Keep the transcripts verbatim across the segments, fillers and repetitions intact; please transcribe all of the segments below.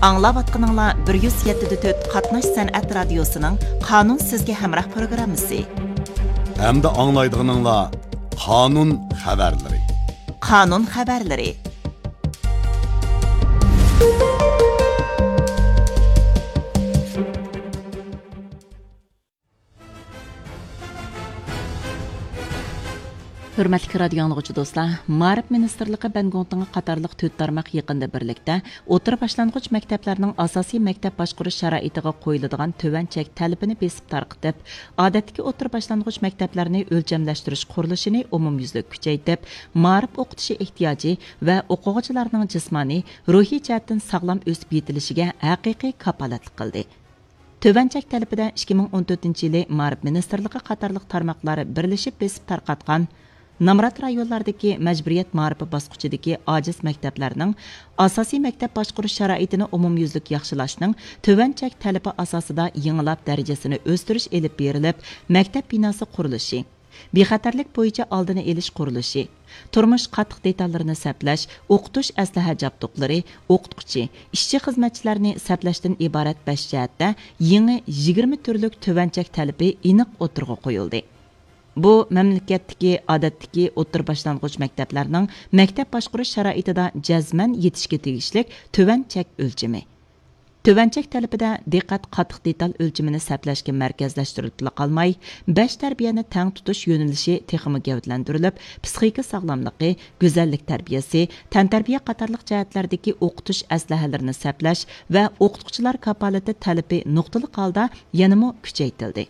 ئاڭلاۋاتقىنىڭلار بىر يۈز يەتتە دە تۆت قاتناش سەنئەت رادىيوسىنىڭ قانۇن سىزگە ھەمراھ پروگراممىسى. ھەمدە ئاڭلايدىغىنىڭلار قانۇن خەۋەرلىرى. قانۇن خەۋەرلىرى. ھۆرمەتلىك رادىيو ئاڭلىغۇچى دوستلار، مائارىپ مىنىستىرلىقى بەنگوڭتىڭى قاتارلىق تۆت تارماق يېقىندا بىرلىكتە ئوتتۇرا باشلانغۇچ مەكتەپلەرنىڭ ئاساسىي مەكتەپ باشقۇرۇش شارائىتىغا قويۇلىدىغان تۆۋەن چەك تەلىپىنى بېسىپ تارقىتىپ، ئادەتتىكى ئوتتۇرا باشلانغۇچ مەكتەپلەرنى ئۆلچەملەشتۈرۈش قۇرۇلۇشىنى ئومۇميۈزلۈك كۈچەيتىپ، مائارىپ ئوقۇتۇشى ئېھتىياجى ۋە ئوقۇغۇچىلارنىڭ جىسمانىي، روھىي جەھەتتىن ساغلام ئۆسۈپ يېتىلىشىگە ھەقىقىي كاپالەتلىك قىلدى. تۆۋەن چەك تەلىپىدە ئىككى مىڭ ئون تۆتىنچى يىلى مائارىپ مىنىستىرلىقى قاتارلىق تارماقلار بىرلىشىپ بېسىپ تارقاتقان نامرات رايونلاردىكى مەجبۇرىيەت مائارىپى باسقۇچىدىكى ئاجىز مەكتەپلەرنىڭ ئاساسىي مەكتەپ باشقۇرۇش شارائىتىنى ئومۇميۈزلۈك ياخشىلاشنىڭ تۆۋەن چەك تەلىپى ئاساسىدا يېڭىلاپ دەرىجىسىنى ئۆستۈرۈش ئېلىپ بېرىلىپ، مەكتەپ بىناسى قۇرۇلۇشى، بىخەتەرلىك بويىچە ئالدىنى ئېلىش قۇرۇلۇشى، تۇرمۇش قاتتىق دېتاللىرىنى سەپلەش، ئوقۇتۇش ئەسلىھە جابدۇقلىرى، ئوقۇتقۇچى، ئىشچى-خىزمەتچىلەرنى سەپلەشتىن ئىبارەت بەش جەھەتتە يېڭى يىگىرمە تۈرلۈك تۆۋەن چەك تەلىپى ئېنىق ئوتتۇرىغا قويۇلدى. بۇ مەملىكەتتىكى ئادەتتىكى ئوتتۇرا باشلانغۇچ مەكتەپلەرنىڭ مەكتەپ باشقۇرۇش شارائىتىدا جەزمەن يېتىشكە تېگىشلىك تۆۋەن چەك ئۆلچىمى. تۆۋەن چەك تەلىپىدە دىققەت قاتتىق دېتال ئۆلچىمىنى سەپلەشكە مەركەزلەشتۈرۈلۈپلا قالماي، بەش تەربىيەنى تەڭ تۇتۇش يۆنىلىشى تېخىمۇ گەۋدىلەندۈرۈلۈپ، پىسخىكا ساغلاملىقى، گۈزەللىك تەربىيەسى، تەنتەربىيە قاتارلىق جەھەتلەردىكى ئوقۇتۇش ئەسلىھەلىرىنى سەپلەش ۋە ئوقۇتقۇچىلار كاپالىتى تەلىپى نۇقتىلىق ھالدا يەنىمۇ كۈچەيتىلدى.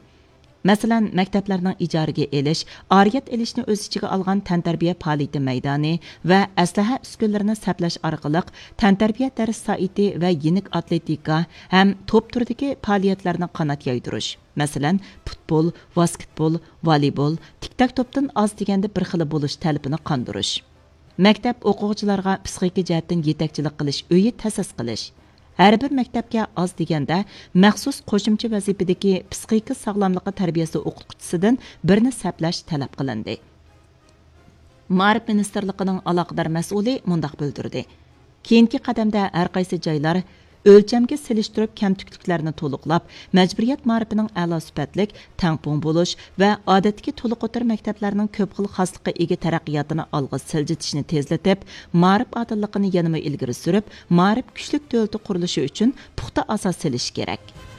مەسىلەن، مەكتەپلەرنىڭ ئىجارىگە ئېلىش، ئارىيەت ئېلىشنى ئۆز ئىچىگە ئالغان تەنتەربىيە پائالىيىتى مەيدانى ۋە ئەسلىھە ئۈسكۈنىلىرىنى سەپلەش ئارقىلىق تەنتەربىيە دەرس سائىتى ۋە يېنىك ئاتلېتىكا ھەم توپ تۈرىدىكى پائالىيەتلەرنى قانات يايدۇرۇش، مەسىلەن، پۇتبول، ۋاسكېتبول، ۋالىبول، تىك تاك توپتىن ئاز دېگەندە بىر خىلى بولۇش تەلىپىنى قاندۇرۇش. مەكتەپ ئوقۇغۇچىلارغا پىسخىكا جەھەتتىن يېتەكچىلىك قىلىش ئۆيى تەسىس قىلىش. ھەر بىر مەكتەپكە ئاز دېگەندە مەخسۇس قوشۇمچە ۋەزىپىدىكى پىسخىكا ساغلاملىقى تەربىيەسى ئوقۇتقۇچىسىدىن بىرنى سەپلەش تەلەپ قىلىندى. مائارىپ مىنىستىرلىقىنىڭ ئالاقىدار مەسئۇلى مۇنداق بىلدۈردى: كېيىنكى قەدەمدە ھەر قايسى جايلار ئۆلچەمگە سېلىشتۇرۇپ كەمتۈكلۈكلەرنى تولۇقلاپ، مەجبۇرىيەت مائارىپىنىڭ ئەلا سۈپەتلىك، تەڭپۇڭ بولۇش ۋە ئادەتتىكى تولۇق ئوتتۇرا مەكتەپلەرنىڭ كۆپ خىل خاسلىققا ئىگە تەرەققىياتىنى ئالغا سىلجىتىشنى تېزلىتىپ، مائارىپ ئادىللىقىنى يەنىمۇ ئىلگىرى سۈرۈپ، مائارىپ كۈچلۈك دۆلىتى قۇرۇلۇشى ئۈچۈن پۇختا ئاساس سېلىشى كېرەك.